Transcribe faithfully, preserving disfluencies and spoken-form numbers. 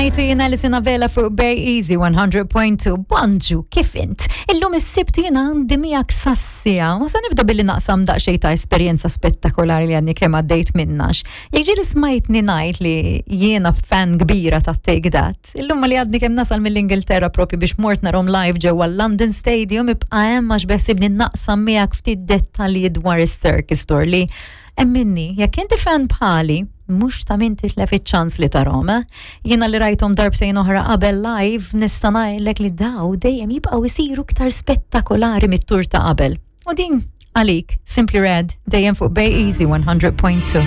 Night u jiena Alison Abela fuq Bay Easy one hundred point two. Bonġu, kif int? Illum is-Sibt jiena għandi miegħek sassija. Ma sa nibda billi naqsam daqsxejn ta' esperjenza spettakolari li għadni kemm għaddejt minnha. Jekk ġieli smajtni ngħid li jiena fan kbira ta' Take That. Illum li għadni kemm nasal mill-Ingilterra propju biex mort narahom live ġewwa London Stadium, ibqa' hemm għax beħsibni naqsam miegħek ftit dettalji dwar is-Circus Tour li, emminni, jekk inti fan bħali, mhux ta' min titlef iċ-ċans li tarahom, eh? Jiena li rajthom darbtejn oħra qabel live, nista' ngħidlek li daw dejjem jibqgħu jsiru iktar spettakolari mit-tur ta' qabel. U din għalik, Simply Red, dejjem fuq Bay Easy one hundred point two.